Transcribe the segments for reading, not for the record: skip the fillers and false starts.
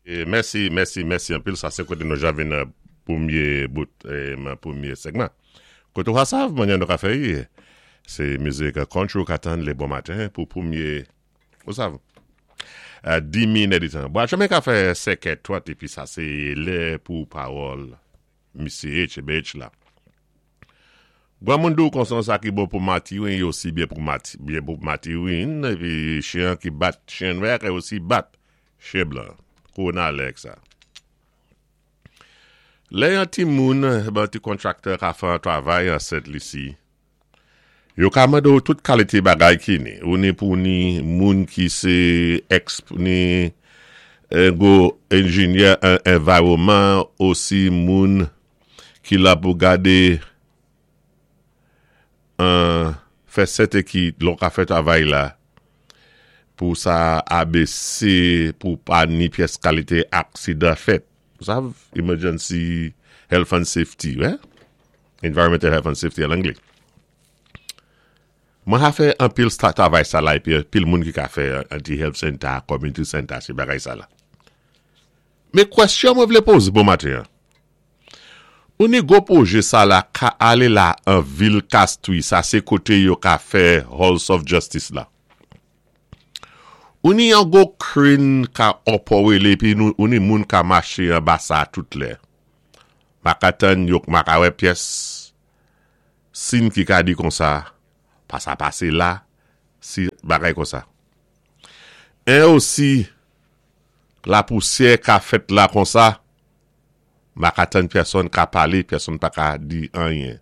Mèsi, mèsi, mèsi anpil. Sa sé koté nou ja vin nan pwémyé bout nan pwémyé sègman. Koté ou ka sav mannyè nou ka fè y, sé mizik country ou ka tann lé bon maten pou pwémyé, ou sav, dimi nèditan. Bon, chemen ka fè sèkè 30 épi sa sé lè pou pawòl Misye HBH la. Granmoun di w konsa sa ki bon pou matirin yo si byen pou mati byen pou matirin epi chen an ki bat chen nwè a osi bat chen blan. Kowona lè ak sa. Lè yon timoun ban ti kontraktè ka fè yon travay an Sent Lisi, Yo ka mande w tout kalite bagay ki ni ou ni pou ni moun ki se exp ni gwo enjinyè an environman osi moun ki la pou gade an fè sèten ki lè w ka fè travay la pou sa abese pou pa ni pyès kalite aksidan fèt ou sav emergency health and safety wè. Environmental Health and Safety an angle. Mwen ka fè anpil travay sa la epi anpil moun ki ka fè anti health center, community center, se bagay sa la. Men kwestyon mwen vle poze bon maten an. Ou ni gwo pwoje sa la ka ale la an vil Castries, sa se kote yo ka fè Halls of Justice la. Ou ni yon gwo crane ka òpòwele epi ou ni moun ka mache anba sa tout lè. Ma ka tann yo k ma ka wè pyès sin ki ka di konsa pa sa pase la si bagay konsa. 1 osi lapousyè ka fèt la konsa ma ka tann pèsonn ka pale pèsonn pa ka di anyen.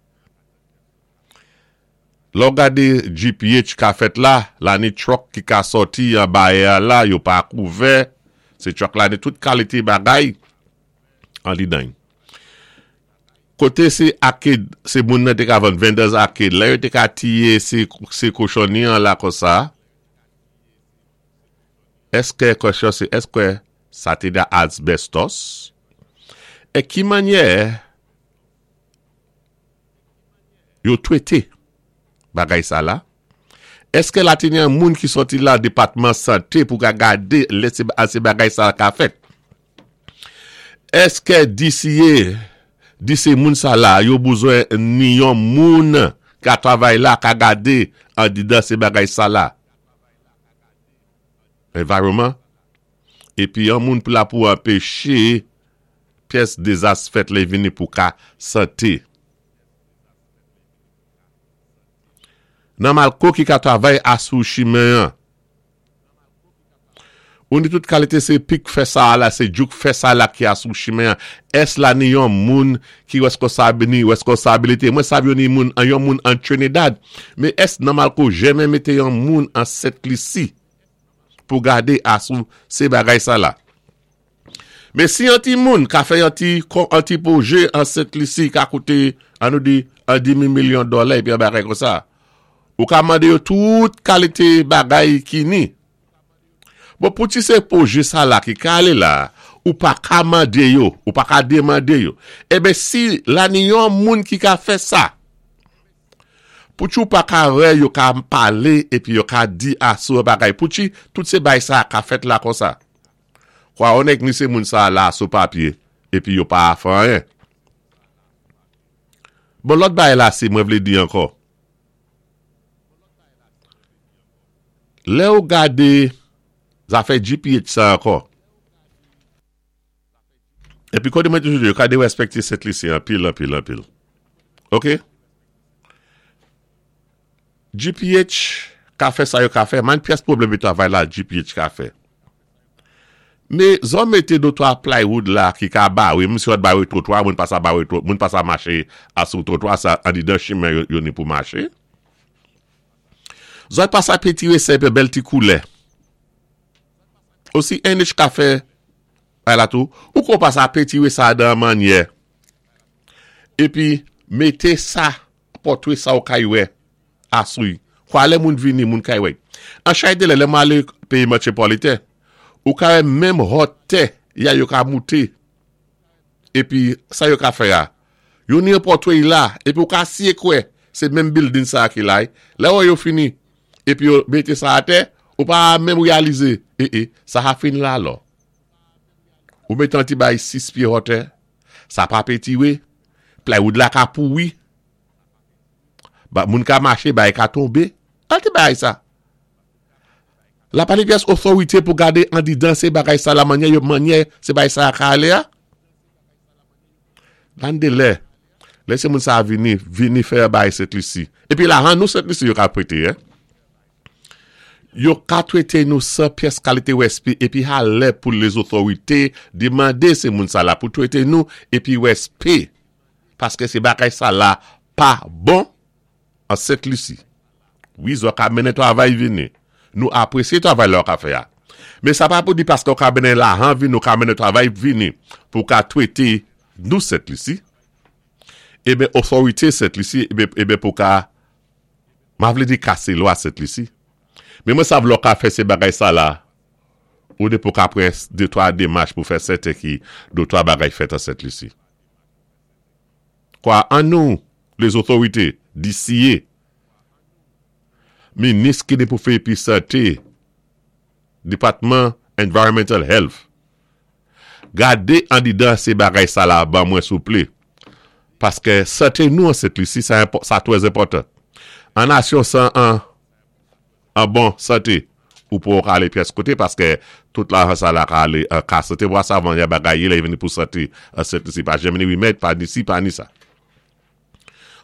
Lè w gade GPH ka fèt la la ni truck ki ka sòti anba air la yo pa kouvè se truck la ni tout kalite bagay. Anlidan. Koté sé arcade, sé moun nan té ka vann vendors arcade, lè yo té ka tiyé sé sé kochonni an la konsa, èskè kwèsyon sé èskè sa té da asbestos? E ki mannyè yo twété bagay sa la? Èskè la té gen moun ki sòti la depatman santé pou ka gadé lè sé sé bagay sa ka fèt? Eske DCA di se moun sa la yo bouzwen ni yon moun ka travay la ka gade andidan se bagay sa la environment epi yon moun pou la pou anpeche pyès dezas fèt lè vini pou ka sante nan malko ki ka travay asou chimen an. Ou ni tout kalite se pik fè sa a la se djouk fè sa la ki a sou chimen an ès la ni yon moun ki reskonsab ni reskonsabilite mwen sav yo ni moun an yon moun an Trinidad men ès nan malko jèmen mete yon moun an Sent Lisi pou gade a sou se bagay sa la men si yon ti moun ka fè yon ti kon an ti pwoje an Sent Lisi ka koute an nou di an dimi milyon dòlè epi yon bagay konsa ou ka mande yo tout kalite bagay ki ni. Bon pou ti se pwoje sa la ki ka ale la, ou pa ka mande yo, ou pa ka demande yo. Eben si la ni yon moun ki ka fè sa, pou ti ou pa ka wè yo ka pale epi yo ka di asou yon bagay, pou ti tout se bay sa ka fèt la konsa. Kwa yon nèg ni se moun sa la sou papye epi yo pa fè anyen. Bon lòt bagay la si mwen vle di ankò. Lè ou gade zafè GPH sa ankò. Epi kote mwen toujou di yo ka derespekte Sent Lisi anpil, anpil, anpil. Ok? GPH ka fè sa yo ka fè, man pyès pwoblèm yo travay la GPH ka fè. Me zò mete dotwa plywood la ki ka bare, menm si yo pat bare twotwa, moun pa sa bare twotwa, moun pa sa mache a sou twotwa sa andidan chimen yo ni pou mache. Zòt pa sa pentire sè pe bèl ti koulè. Osi NH ka fè bay la tou. Ou ko pa sa pentire sa dan manyè. Epi mete sa pòtre sa ou kay wè asouy. Kwa lè moun vini moun kay wè. An chay de lè lè mwen ale peyi metropoliten. Ou ka wè menm hòtè ya yo ka moute. Epi sa yo ka fè a? Yo ni yon pòtrey la, epi ou ka siye kwè se menm bildin sa a ki la. Lè wè yo fini, epi yo mete sa atè, ou pa menm reyalize, e e, sa a fin la alò. Ou mété an ti bay 6 pyé hòtè, sa pa pétiwé, plywood la ka pouwi, ba moun ka maché bay ka tonbé. Kal ti bagay sa? La pa ni pyès otorité pou gadé andidan sé bagay sa la mannyè yo mannyè sé bagay sa ka alé a? Lan de lè, lè sé moun sa vini, vini fè bagay Sent Lisi. Épi lajan nou Sent Lisi yo ka pwété, hein. Yo ka trete nou san pyès kalite wèspe epi ha lè pou lezotorite di mande se moun sa la pou trete nou epi wèspe paske se bagay sa la pa bon an Sent Lisi. Wi zò ka mennen travay vini. Nou apresye travay la ou ka fè a. Men sa pa pou di paske ou ka mennen lajan vini ou ka mennen travay vini pou ka trete nou Sent Lisi. Eben otorite Sent Lisi eben pou ka Ma vlé di kasé lwa Sent Lisi. Men mwen sav lè w ka fè se bagay sa la, ou de pou ka pran de twa demach pou fè sèten ki de twa bagay fèt an Sent Lisi. Kwa an nou, lezotorite, di siye, minis ki ni pou fè epi sante, depatman environmental health, Gade andidan se bagay sa la ban mwen souple. Paske sante nou an Sent Lisi sa sa twè enpòtan. An nasyon san an an bon sante ou poko ka ale pyès kote paske tout lajan sa la ka ale an ka sante wa sa van ya bagay ye lè vini pou sante an Sent Lisi pa janm ni remèd pa ni si pa ni sa.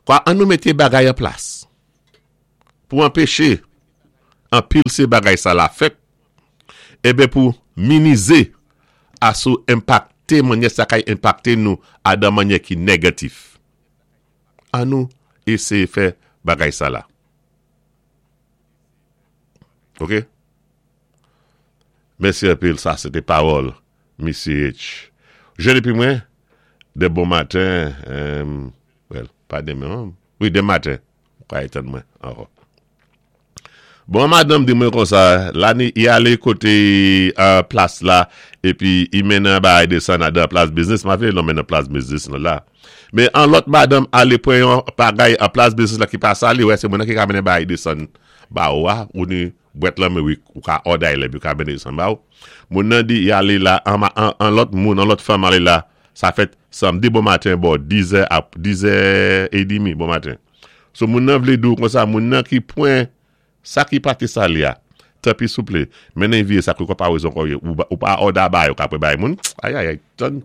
Kwa an nou mete bagay an plas pou anpeche anpil se bagay sa la fèt. Eben pou minize asou enpakte manyè sa kay enpakte nou a dan manyè ki negatif. An nou eseye fè bagay sa la. Ok. Mèsi anpil sa se te pawòl Misye H. Jèn epi mwen de bon maten well pa demen wi de maten ou ka etann mwen ankò. Bon madanm di mwen konsa, la ni i ale kote plas la epi i mennen bagay desann a dan plas biznis, ma vle nonmen nan plas biznis lan la. Men an lòt madanm ale pran yon bagay an plas biznis la ki pa sa li wè se mwen nan ki ka mennen bagay desann ba ou a, ou ni bwèt lan men wi ou ka òday lè epi ou ka mennen desann ba ou. Moun nan di i ale la an lòt moun, an lòt fanm ale la, sa fèt samdi bon maten bò dizè a dizè edimi bon maten. So moun nan vle di w konsa moun nan ki pwen sa ki pa te sale a tanpi souple mennen vye sa ki pa wezon kò ye ou pa òda bay ou ka pre bay moun ayayay tann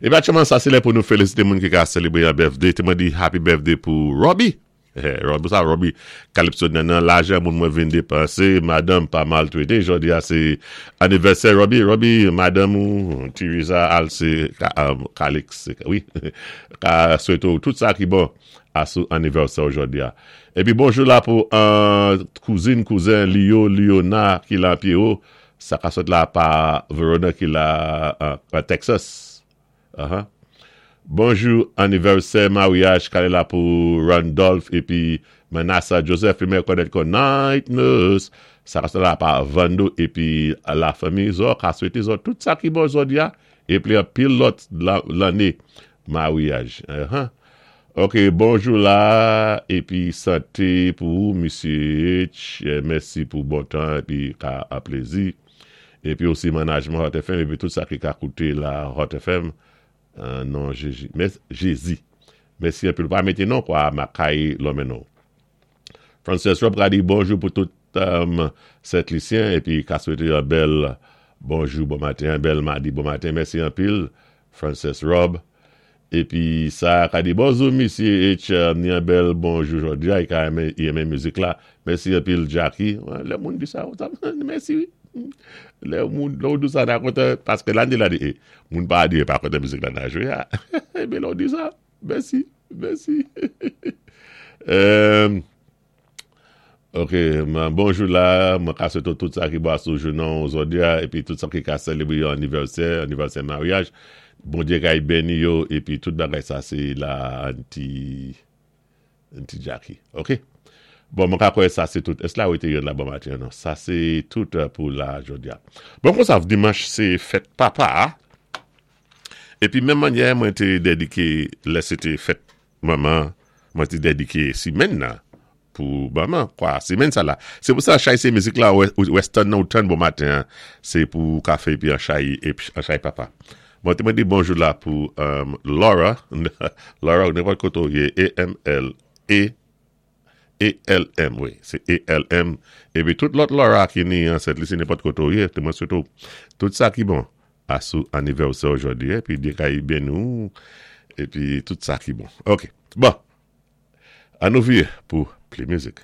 Epi aktyèlman sa se lè pou nou felisite moun ki ka selebre yon birthday te mwen di happy birthday pou Robbie Robbie sa Robbie Calypso nan nan lajan moun mwen vin depanse madanm pa maltrete jodi a se anivèsè Robbie Robbie madanm ou Theresa Alce Calix wi Ka swete w tout sa ki bon a sou anivèsè w jodi a. Epi bonjou la pou kouzin, kouzen Lio, Liona ki la Pierrot, sa ka sot la pa Verona ki la Texas. Bonjou anivèsè maryaj kale la pou Randolph epi Manassa Joseph li mè konèt kon Night Nurse, sa ka sot la pa Vando epi la fanmi zò ka swete zò tout sa ki bon jodi a Epi anpil lòt lanne maryaj. Ok bonjou la epi sante pou ou misye H mèsi pou bon tan epi ka a plezi epi osi manajman Hot FM epi tout sa ki ka koute la Hot FM non Jezi Jezi mèsi anpil ou pa mete non kwa makay lonmen non. Frances Rob ka di bonjou pou tout Sent Lisyen epi ka swete yon bèl bonjou bon maten, yon bèl madi bon maten. Mèsi anpil Frances Rob. Epi sa ka di bonjou misye H ni yon bèl bonjou jodi a, i ka renmen i renmen mizik la. Mèsi anpil Jacky. Lè moun di sa, mèsi wi. Lè moun lè ou di sa na kontan paske la di la di e moun pa di yo pa kontan mizik la na jwe a. Ebyen lè ou di sa. Mèsi, mèsi. Ok, bonjou la, mwen ka swete w tout sa ki bon sou jounen w jodi a, epi tout sa ki ka selebre yon anivèsè, anivèsè maryaj. Bondye kay beni yo, epi tout bagay sa se la anti, anti Jackie. Ok? Bon, mwen ka kwè sa se tout. Èske la wete yon la bon maten non? Sa se tout pou la jodi a. Bon, konsa, dimanch se fèt papa a. Epi menm mannyè mwen te dedike lè se te fèt manman, mwen te dedike simenn nan. Pou banman kwa semenn sa la. Se pou sa chay se mizik la western nan ou tann bon maten an se pou kafe epi an chay an chay papa. Bon te mwen di bonjou la pou Laura Laura ou nenpòt kote ou ye E M L E E L M wi se E L M epi tout lòt Laura ki ni an Sent Lisi nenpòt kote ou ye te mwen swete ou tout sa ki bon a sou anivèsè ou jodi epi Dye ka beni ou epi tout sa ki bon ok bon. An nou vire pou pli mizik.